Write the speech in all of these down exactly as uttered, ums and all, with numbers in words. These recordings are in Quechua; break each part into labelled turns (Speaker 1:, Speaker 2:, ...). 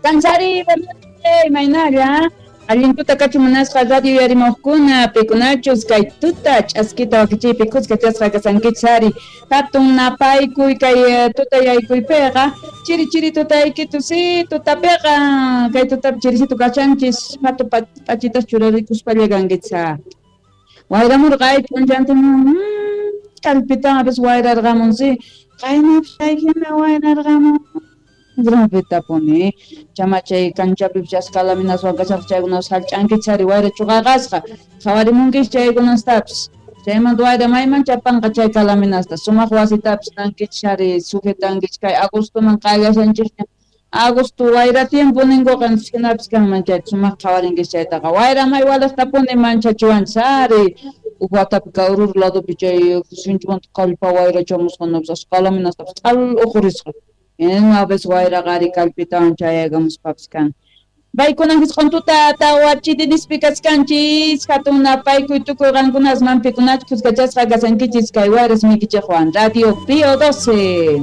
Speaker 1: Kansari, imaynalla. Allin tuta kachu munasqa radio yarimuqkuna, pikunachus kay tuta ch'askita wakichiypi kuska chasqa kasankichis ari. Hatun napaykuy kay tuta yaykuypiqa, chiri chiri tutaykitu si tutapiqa, kay tutapi chirisitu kachanchis, hatu p'achitas churarikuspalla kankichis. Wayramurqa ay p'unchantin, kallpitanapis wayrarqamun si, qaynapis chaykina wayrarqamun. Grabetapuni chamachay kanchapi chaskalaminaswan kashaq chaykunas hallch'ankichis ari wayra chuqaqasqa qhawarimunkis chaykunastapis chaymanta wayra mayman chapanqa chay kalaminasta sumaq wasitapis tankichis ari sujetankichis kay agostoman qallashanchikña agosto wayra tiempo ninkuqa hinapis kanman chayta sumaq qhawarinkis chaytaqa wayra may waliqtapuni manchachiwanchis ari huk watapi Kawrur ladopi chay sinchimanta kallpa wayra chamusqanapis kalaminastapis q'al uqurisqa. Una vez wayraqa ari kallpitawan chayaykamuspapis kan. Paykunan hisq'un tuta tawa chirinispi kachkanchis hatun napaykuy tukuy qankunas mampikunach kuskachasqa kasankichis kay wayras mikichiqwan Radio Pío doce.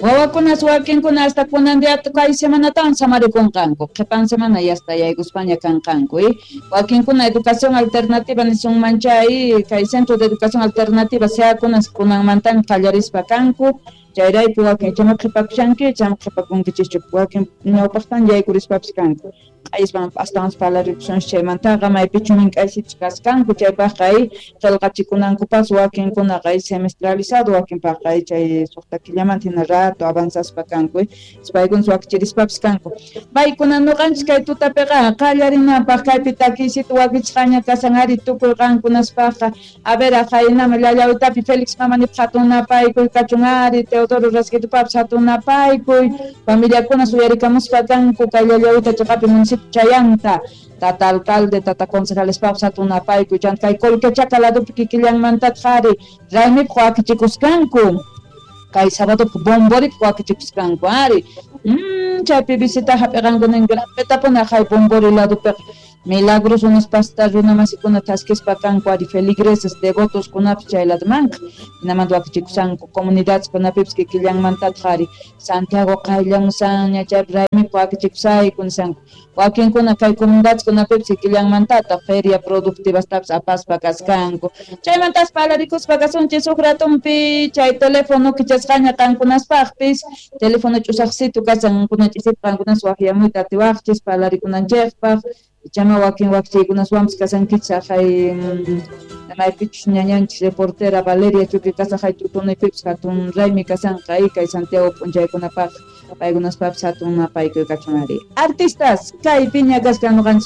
Speaker 1: Wawakunas wakinkuna hasta kunan día kay semanatawan samarikunqanku qhipan semana yasta yaykuspaña kanqanku eh wakinkuna educación alternativa nisunman chay kay centro de educación alternativa seakunas kunanmantan qallarispa kanku chayrayku wakin chama qhipakushanki chama qhipakunkichischu wakin ñawpaqtan yaykurispapis kanku q'ayspan astawan parlarikusunchis chaymantaqa maypichu mink'aysichus kaskanku chaypaqqa ay qillqachikunankupas wakinkunaqa ay semestralizado wakinpaqqa ay chay suqta killamanta hina rato avanzaspa kanku paykunas wakichirispapis kanku paykuna nuqanchis kay tutapiqa qallarinapaq kaypi takiysita wakichisqaña kasan ari tukuy qankunaspaqqa a ver aqhaynama llallawitapi Félix mamanipaq hatun napaykuy kachun ari Teodoro Rasquitupapis hatun napaykuy familiakunas uyarikamuspa kanku kay llallawita chiqapi municipio chayanta tata alcalde tata concejalespapis hatun napaykuy chanta kay Colquechaca ladopi kikillanmantataq ari raymipaq wakichikuskanku kay sabadopaq bomboripaq wakichikuskanku ari mm, chaypi visita hap'iqanku nin grapetapuni aqhay bombori ladopiqa milagros unaspasta runamasikuna thaskispa kanku ari feligreses devotos kunapis chay ladomanqa hinamanta wakichikusanku comunidades kunapipis kikillanmantataq ari Santiago qayllamusanña chaypi raymipaq wakichikusayku nisanku wakinkuna kay comunidades kunapipis kikillanmantataq feria productivastapis apaspa kaskanku chaymantas parlarikuspa kasunchis huk ratunpi chay teléfono kichasqaña qankunaspaqpis teléfono ch'usaqsitu kasan kuna ch'isipaq qankunas waqyamuyta atiwaqchis parlarikunanchikpaq chama wakin wakchiykunaswanpis kasankichis aqhay maypichus ñañanchis reportera Valeria Chuqui kasaqhay tutunipipis hatun raymi kasanqa kay Santiago p'unchaykunapaq paykunaspapis hatun napaykuy kachun ari artistas kay piña kaskan nuqanchis.